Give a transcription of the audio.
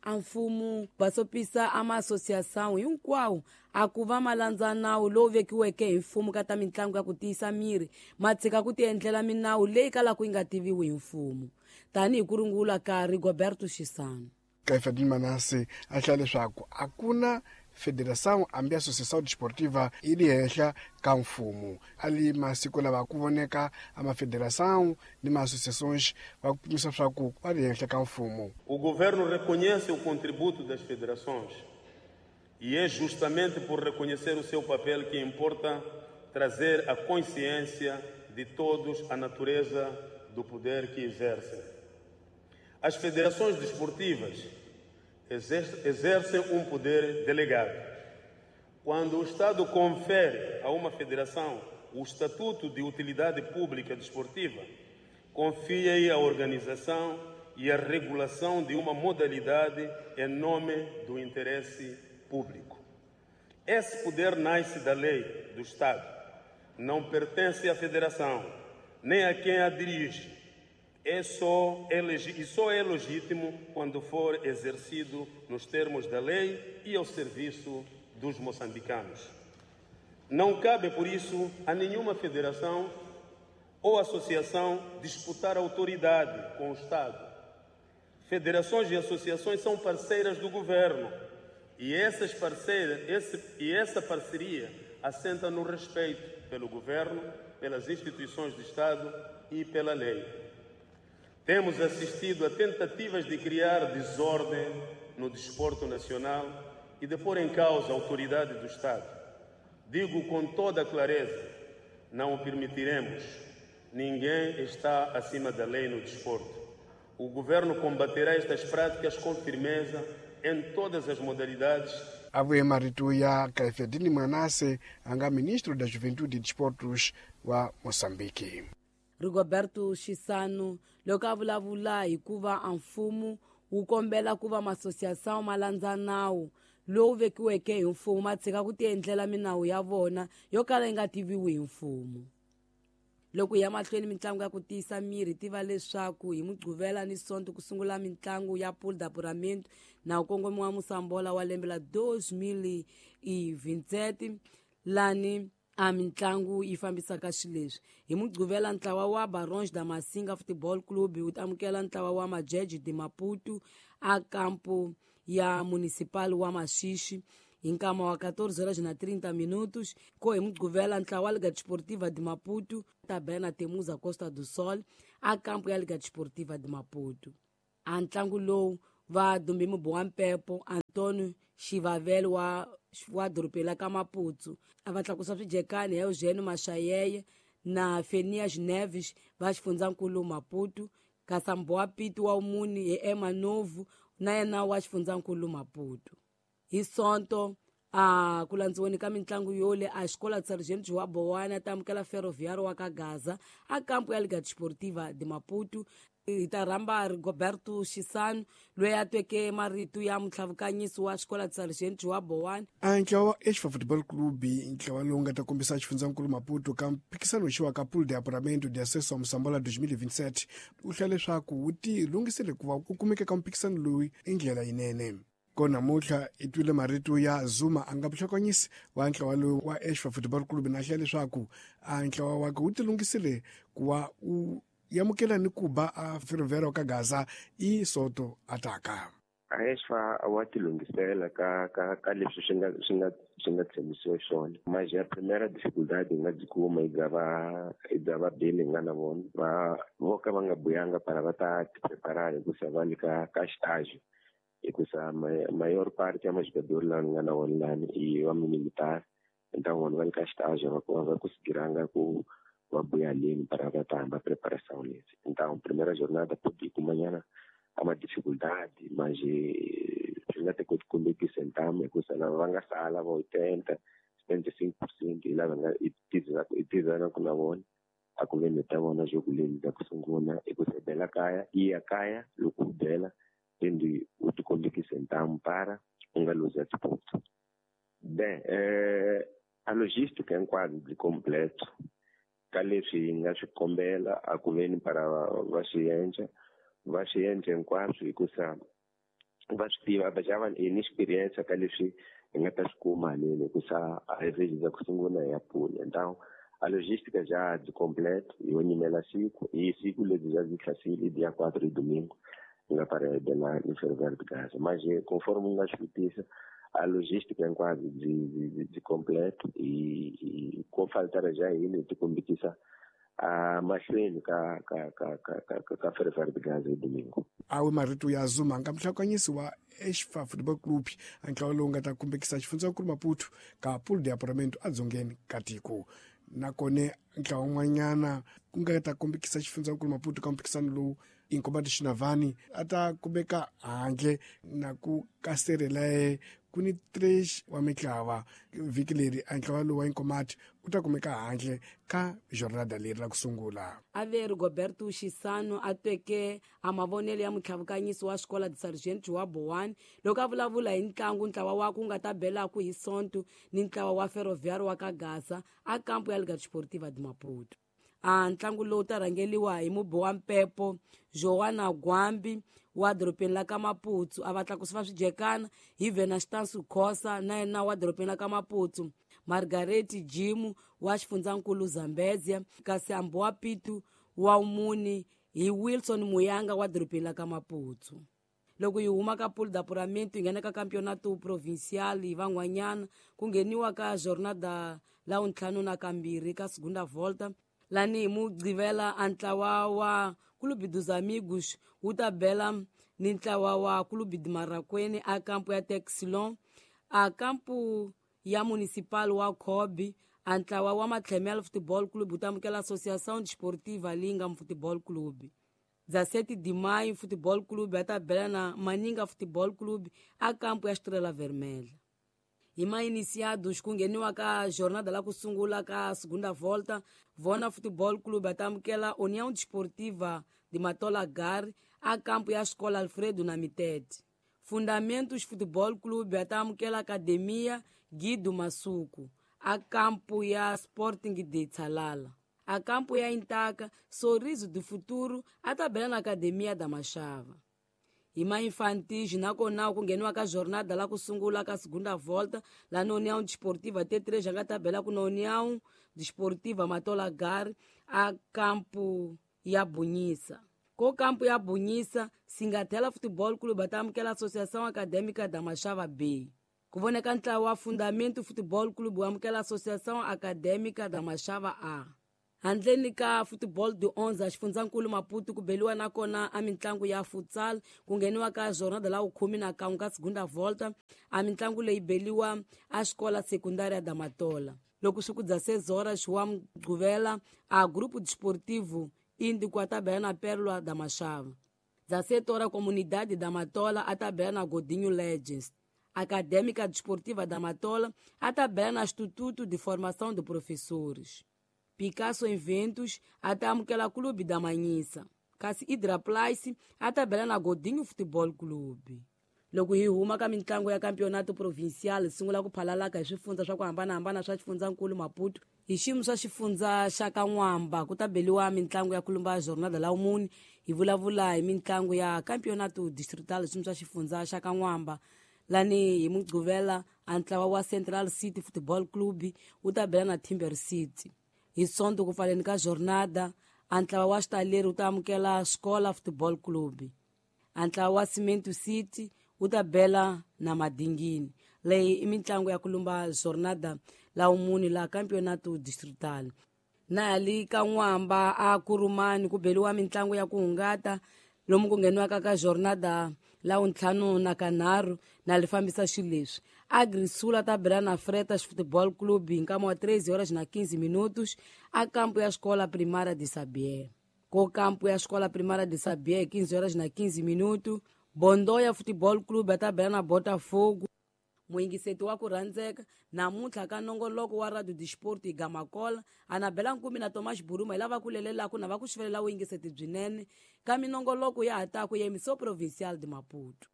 A mfumo basopisa a maasosiação hinkwawo a ku va ma landza nawu lowu vekiweke hi mfumo ka ta mitlangu ya ku tiyisa miri, ma tshika ku tiendlela minawu leyi kalaka yi nga tiviwi hi mfumo, tanihi ku rungula ka Rigoberto Chissano. Caifadine Manasse a hlaya leswaku a ku na federação hambi associação desportiva yi li henhla ka mfumo. A li masiku lava ku voneka a mafederação ni ma-associações va kumisa swaku va li henhla ka mfumo. O governo reconhece o contributo das federações e é justamente por reconhecer o seu papel que importa trazer a consciência de todos a natureza do poder que exercem. As federações desportivas exercem um poder delegado. Quando o Estado confere a uma federação o estatuto de utilidade pública desportiva, confia-lhe a organização e a regulação de uma modalidade em nome do interesse público. Esse poder nasce da lei do Estado, não pertence à federação, nem a quem a dirige. E só é legítimo quando for exercido nos termos da lei e ao serviço dos moçambicanos. Não cabe, por isso, a nenhuma federação ou associação disputar autoridade com o Estado. Federações e associações são parceiras do governo e essa parceria assenta no respeito pelo governo, pelas instituições do Estado e pela lei. Temos assistido a tentativas de criar desordem no desporto nacional e de pôr em causa a autoridade do Estado. Digo com toda a clareza, não o permitiremos. Ninguém está acima da lei no desporto. O governo combaterá estas práticas com firmeza em todas as modalidades. A vuye marito ya Caifadine Manasse, a nga ministro da Juventude e Desportos wa Moçambique. Rigoberto Chissano loko a vulavula hi ku va a mfumo wu kombela ku va maasosiação ma landza nawu lowu vekiweke hi mfumo, ma tshika ku tiendlela minawu ya vona yo kala yi nga tiviwi hi mfumo. Loko hi ya mahlweni mitlangu ya ku tiyisa miri, tiva leswaku hi Mugqivela ni Sonto ku sungula mitlangu ya Pool d'Apuramento na kongomi wa Mosambola wa lembe la 2027, lani a mitlangu yi fambisaka xileswi. Hi Mugqivela ntlawa wa Barões da Massinga Futebol Clube wu amukela ntlawa wa Majeje de Maputo a kampo ya municipal wa Maxixi hi nkama wa 14:30. Ko hi Mugqivela ntlawa wa Liga Desportiva de Maputo ta Temuza Costa do Sol a kampo ya Liga Desportiva de Maputo. A ntlangu lowu va dumbi mubowa mpepo Antonio Xivavele wa dorobeni la ka Maputo a va tlakusa swijekani hi Eugênio Machayeye na Fenias Neves va xifundzankulu Maputo, kasi Mbowa Pito wa Muni hi Emma Novo na yena wa xifundzankulu Maputo. Hi Sonto a ku landziweni ka mitlangu yole a xikola Sargent João Bowana ta amukela Ferroviário wa ka Gaza a kampo ya Liga Desportiva de Maputo. Hi ta rhamba Rigoberto Chissano loyi a tweke marito ya mutlhavukanyisi wa xikola Sargent João Bowana. A ntlawa wa Exfa Football Club, ntlawa lowu nga ta kombisa xifundzankulu Maputo ka mphikisano xiwa ka Pool de Apuramento de Acesso ao Mosambola 2027, wu hlaya leswaku wu ti lunghisele ku va ku kumeka ka mphikisano lowu i ndlela yinene. Ko namuntlha i twile marito ya Zuma a nga vuhlakanyisi wa ntlawa lowu wa Exfa Football Club, na hlaya leswaku a ntlawa wakhe wu ti lunghisile ku va wu yamukela ni ku ba a Ferroviário ka Gaza i Soto ataka. A Exfa wa ti lunghisela ka leswi swi nga tshembisiwa swona. Mas a primeira dificuldade hi nga byi kuma i bya va beni hi nga na vona va vo ka va nga buyanga para va ta ti preparar hikusa va le ka estágio. Hikusa maior parte ya majogador lawa ni nga na wona lani i wa militar, então vona va le ka estágio va kusigiranga ku va buya leni para va ta hamba preparação lesi. Então primeira jornada pode kumanyana a ma dificuldade, mas swi nga te kumbe ku sentama hikusa lava va nga sala va 80 75% hi lava nga i tizana ku na vona a ku ve ni ta vona jogo leli bya ku sungula hikusa bela kaya i ya kaya loko u bela tende u ti kombekise ntamu para u nga luzi disputa. Bem, a logística hinkwabyo byi completo ka leswi hi nga swi kombela a ku veni para va swi endla hinkwaswo hikusa Va swi tiva va xa va hi ni experience ka leswi hi nga ta swi kuma haleni hikusa a hi vhezi ku sungula hi ya pula. Então a logística já de completo, yo nyimela siku hi siku lebyi já byi hlasile dia 4 hi domingo hi nga parede na ni Ferroviário de Gaza. Mas conforme u nga swi vutisa, a logística hinkwabyo byi completo, hi ko faltara ja hina hi tikombekisa a mahlweni ka Ferroviário de Gaza hi domingo. Awe marito ya Zuma nga muhlakanyisi wa Exfa Football Club, a ntlawa lowu nga ta kumbekisa xifundzankulu Maputo ka pool de apuramento edzongeni ka tiko. Nakone ntlawa wun'wanyana ku nga ta kombekisa xifundzankulu Maputo ka mphikisano lowu Inkomati Xinavani a ta kumeka handle na ku kaserelae ku ni 3 wa mitlawa vhiki leri. A ntlawa lowu wa Inkomati u ta kumeka handle ka jornada leri ra ku sungula. Ave Rigoberto Xisano a tweke a mavonelo ya mutlhavukanyisi wa xikola de Sargent wa Bowani loko a vulavula hi ntlangu ntlawa wa ku nga ta belaku hi Sonto ni ntlawa wa Ferroviário wa ka Gaza a kampo ya Liga Desportiva de Maputo. A ntlangu lowu ta rhangeliwa hi mubi wa mpepo Joana Gwambi wa dorobeni la ka Maputo, a va tlakusi va swidyekana hi Venastansu Khosa na yena wa dorobeni la ka Maputo, Margaret Jimu wa xifundzankulu Zambezia, kasi Ambowa Pitu wa muni hi Wilson Muyanga wa dorobeni la ka Maputo. Loko hi huma ka pool d'apuramento hi nghena ka campeonato provincial hi van'wanyana ku ngheniwa ka jornada la 52 ka segunda volta lani hi Mugqivela a ntlawa wa Clube dos Amigos wu ta bela ni ntlawa wa Clube de Marakwene a kampo ya Texilon, a kampo ya Municipal wa Khobi. A ntlawa wa Matlhemel Football Club wu ta amukela Associação Desportiva Linga Football Club. 17 de maio Football Club a ta bela na Maninga Football Club a kampo ya Estrela Vermelha. Hi ma-iniciados ku ngheniwa ka jornada la ku sungula ka segunda volta, Vona Football Club a ta amukela União Desportiva de Matola Gare a kampo ya Escola Alfredo Namitete. Fundamentos Football Club a ta amukela Academia Guido Masuku a kampo ya Sporting de Tsalala. A kampo ya Intaka, Sorriso do Futuro a ta bela na Academia da Machava. Hi ma-infantis nakona ku ngheniwa ka jornada la ku sungula ka segunda volta la na União Desportiva T3 a nga ta bela ku na União Desportiva Matola Gare a kampo ya Bunyisa. Ko kampo ya Bunyisa, Singatela Futebol Clube a ta amukela Associação Acadêmica da Machava B. Ku voneka ntlawa wa Fundamento Futebol Clube wu amukela Associação Acadêmica da Machava A. Handleni ka football de 11 xifundzankulu Maputo ku beliwa nakona a mitlangu ya futsal ku ngheniwa ka jornada la 11 ka segunda volta. A mitlangu leyi beliwa a xikola secundária da Matola. Loko swi ku dza 6 horas wa Mugqivela a Grupo Desportivo Índico a ta bela na Pérola da Machava. 17 horas Comunidade da Matola a ta bela na Godinho Legends. Acadêmica Desportiva da Matola a ta bela na Instituto de Formação de Professores. Picasso Eventos a ta amukela Clube da Manhissa. Kasi Idra Place a ta bela na Godinho Futebol Clube. Loko hi huma ka mitlangu ya campeonato provincial hi sungula ku phalalaka hi swifundza swa ku hambanahambana swa xifundzankulu Maputo. Hi xiyimo swa xifundza xa ka N'wamba ku ta beliwa mitlangu ya kulumba jornada la mune. Hi vulavula hi mitlangu ya campeonato distrital xiyimo swa xifundza xa ka N'wamba. Lani hi Mugqivela a ntlawa wa Central City Football Club wu ta bela na Timber City. Hi Sonto ku pfaleni ka jornada a ntlawa wa Xitaleri wu ta amukela Xikola Football Club. A ntlawa wa Cimento City wu ta bela na Madingini. Leyi i mitlangu ya ku lumba jornada la mune la campeonato distrital. Na hali ka N'wamba a Kurumani ku beliwa mitlangu ya ku hungata lomu ku ngheniwaka ka jornada la 53 na li fambisa xileswi. Agrisula ta bela na Fretas Futebol Clube hi nkama wa 3:15 a kampo ya Escola Primária de Sabié. Ko kampo ya Escola Primária de Sabié 15:15 Bondoya Futebol Clube a ta bela na Botafogo. Muyingiseti wa ku rhandzeka namuntlha ka nongoloko wa Radio Disport hi Gamakola Anabela Nkumi na Thomas Buruma hi lava ku lelelaku na va ku xivelela vuyingiseti byinene ka minongoloko ya ha taku ya Emissão Provincial de Maputo.